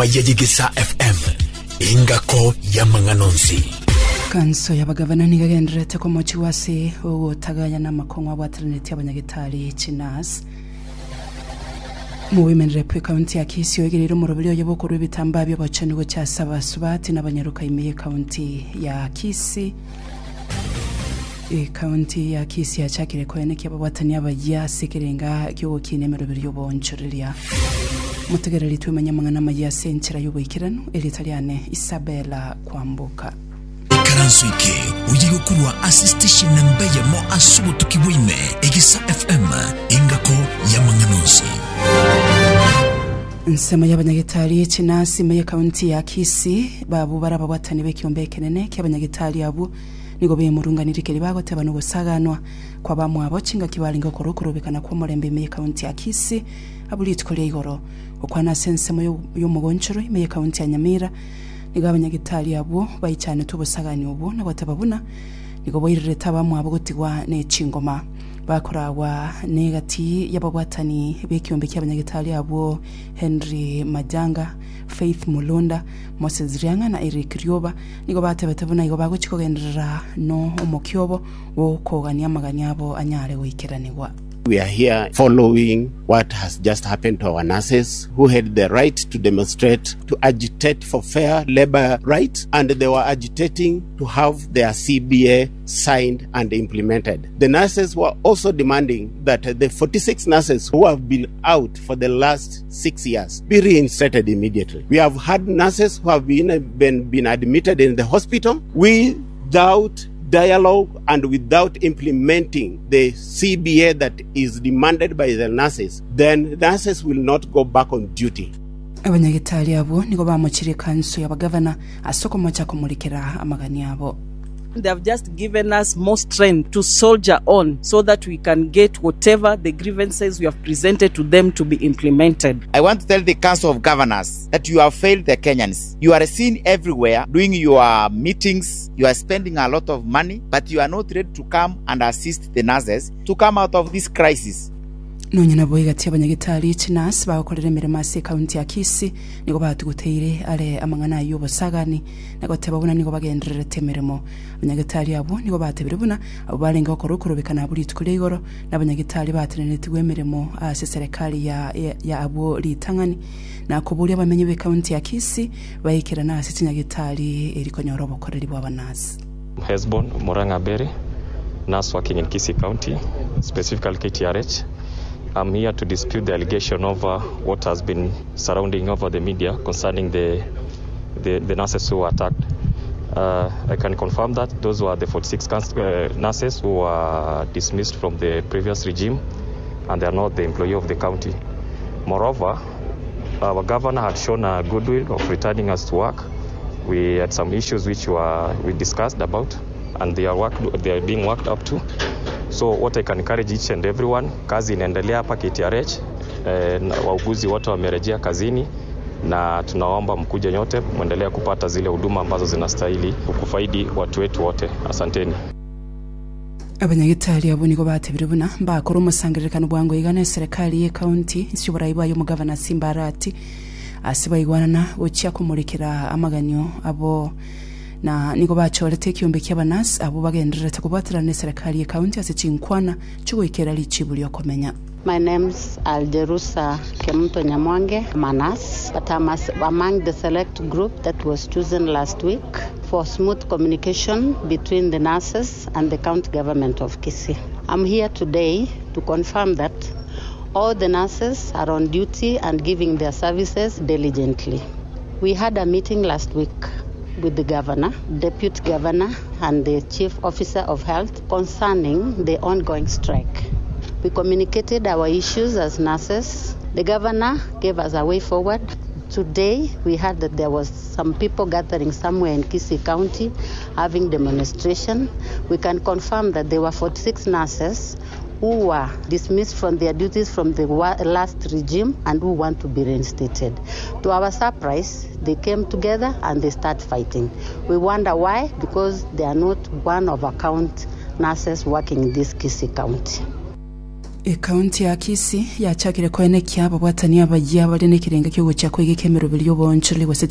amaya y'Egesaa FM, engako y'amang'ana onsi. Kanso y'abagavana nigo egendererete komochigwa ase ogotagayana amakong'u abwateranetie abanyagetari chinurse. Omowomen Rep ekaunti ya Kisii oigereire omoroberi oye bw'okorua ebitambaa bi'obochenu gochia ase abasubati na abanyaroka ime y'ekaunti ya Kisii. Ekaunti ya Kisii yachakire koenekia ababwatani abayia ase ekerenga ki'ogokinia emeroberi y'oboonchoreria. Motegereri twemanye amang'ana amayia ase enchera y'oboikeranu, erieta riane Isabella Kwamboka. Ikaranso eke oye gokorwa ase station namba eyemo ase obotuki bwa ime, Egesa FM, engako y'amang'ana onsi. Ensemo y'abanyagetari chinasi ime y'ekaunti ya Kisii babwo bare ababwatani b'ekiombe ekenene ki'abanyagetari abwo nigo bemurunganirie keria bagoteba nogosaganwa kw'abamwabo chingaki barenge gokora okorobekana kw'omorembe ime y'ekaunti ya Kisii abwo rituko ria igoro. Gokwana ase ensemo y'omogonchoro ime y'ekaunti ya Nyamira Nigo abanyagetari abwo baichanetwe obosagani obwo na goteba buna nigo boirerete abamwabo gotigwa ne chingoma. Bakoragwa negati y'ababwatani b'ekiombe ki'abanyagetari abwo Henry Majanga, Faith Mulunda, Moses Riang'a na Eric Rioba nigo batebete buna igo bagochia kogenderera no omokia obo bw'okogania amagani abo anyare goikeranigwa. We are here following what has just happened to our nurses who had the right to demonstrate, to agitate for fair labor rights, and they were agitating to have their CBA signed and implemented. The nurses were also demanding that the 46 nurses who have been out for the last 6 years be reinstated immediately. We have had nurses who have been, been, been admitted in the hospital without dialogue and without implementing the CBA that is demanded by the nurses, then nurses will not go back on duty. Abanyagetari abwo nigo bamochirie ekanso y'abagavana ase okomocha komorikera amagani abo. They have just given us more strength to soldier on so that we can get whatever the grievances we have presented to them to be implemented. I want to tell the Council of Governors that you have failed the Kenyans. You are seen everywhere doing your meetings, you are spending a lot of money, but you are not ready to come and assist the nurses to come out of this crisis. Nonya nabo egati y'abanyagetari chinurse bagokorera emeremo ase ekaunti ya Kisii nigo batuguteire are amang'ana ayio obosagani na goteba buna nigo bagendererete emeremo. Abanyagetari abwo nigo batebire buna abwo barenge gokora okorobekana abwo rituko ria igoro na abanyagetari batenenetigwe emeremo ase eserekari ya ya abwo ritang'ani na koboria abamenyi b'ekaunti ya Kisii baikerane ase chinyagetari eri konyora obokoreri bw'abanurse. Hesbon Murang'a Berry, nurse working in Kisii County, specifically KTRH. I'm here to dispute the allegation over what has been surrounding over the media concerning the, the, the nurses who were attacked. Uh, I can confirm that those were the 46 uh, nurses who were dismissed from the previous regime and they are not the employee of the county. Moreover, our governor had shown a goodwill of returning us to work. We had some issues which were we discussed about and they are, worked, they are being worked up to. So what I can encourage each and everyone, kazi inaendelea hapa KTRH. Eh, wauguzi wote wamerejea kazini na tunaomba mkuje nyote mwendelee kupata zile huduma ambazo zinastahili kufaidi watu wetu wote. Asanteni. Abanyagetari abwo nigo batebire buna mbakore omosangererekano bwango iga na eserekari y'ecounty inse y'oborai bwaye omogavana Simba Arati ase baigwanana gochia komorekera amaganio abo na nigo bachorete ekiombe ki'abanurse abwo bagendererete kobwaterana n'eserekari y'ecounty ase chinkwana chigoikera richibu riokomenya. My name's Aljerusa Kemunto Nyamwange. I'm a nurse, but I'm among the select group that was chosen last week for smooth communication between the nurses and the county government of Kisii. I'm here today to confirm that all the nurses are on duty and giving their services diligently. We had a meeting last week with the governor, deputy governor, and the chief officer of health concerning the ongoing strike. We communicated our issues as nurses. The governor gave us a way forward. Today, we heard that there was some people gathering somewhere in Kisii County having demonstration. We can confirm that there were 46 nurses who were dismissed from their duties from the last regime and who want to be reinstated. To our surprise, they came together and they start fighting. We wonder why, because they are not one of account nurses working in this Kisii County. Ekaunti ya Kisii yachakire koenekia ababwatani abayia bare nekerengo kiogochia koigeka emeroberi y'oboonchoreri gose.